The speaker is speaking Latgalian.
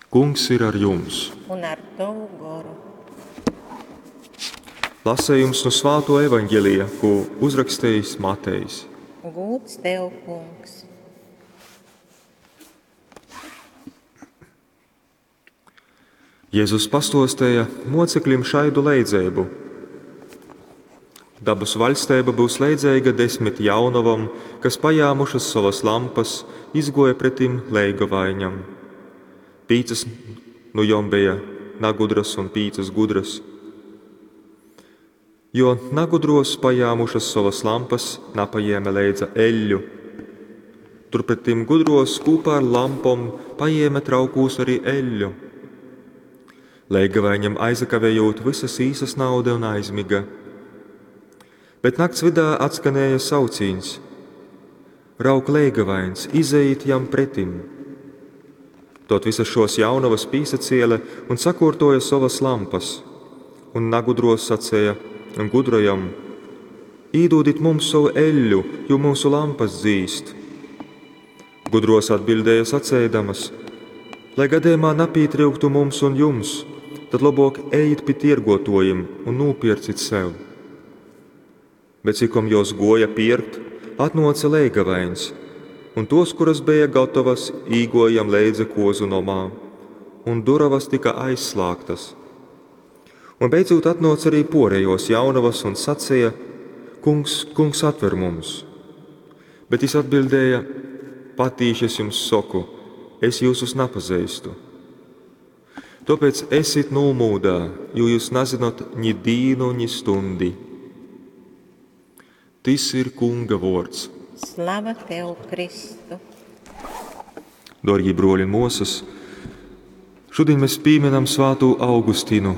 Kungs ir ar jums! Un ar tovu goru. Lasējums nu Svāto evaņģelija, ko uzrakstījis Matejs. Gūds tev, kungs! Jēzus pastostēja mocekļiem šaidu leidzeibu. Dabas vaļsteiba būs leidzeiga desmit jaunavam, kas pajāmušas savas lampas, izgoja pretim leigavaiņam. Pīcas nu jom bija nagudras un pīcas gudras. Jo nagudros pajāmušas savas lampas, napajēma leidza eļļu. Turpretim gudros kopā ar lampom pajēma traukūs arī eļļu. Leigavaiņam aizakavējot, visas īsas nauda un aizmiga. Bet nakts vidā atskanēja saucīns: Rauk leigavains, izejit jam pretim! Tot visas šos jaunavas pīsaciele un sakortoja savas lampas, un nagudros sacēja un gudrajam: Īdūdit mums savu eļļu, jo mūsu lampas dzīst. Gudros atbildēja sacēdamas: Lai gadījumā napītryuktu mums un jums, tad labok ejit pi tiergotojiem un nopircit sev. Bet cikom jos goja pirkt, atnoca leigavains, un tos, kuras bija gatavas, īgojam leidza kozu nomā, un duravas tika aizslāgtas. Un beidzot atnoca arī porējos jaunavas un sacīja: Kungs, kungs, atver mums! Bet jis atbildēja: Patīši es jums saku, es jūsus napazeistu. Tāpēc esit nūmūdā, jo jūs nezinot ni dīnu, ni stundi. Tis ir Kunga vārds. Slava tev, Kristu! Dārgie broļi un māsas, šodien mēs pieminam Svāto Augustinu,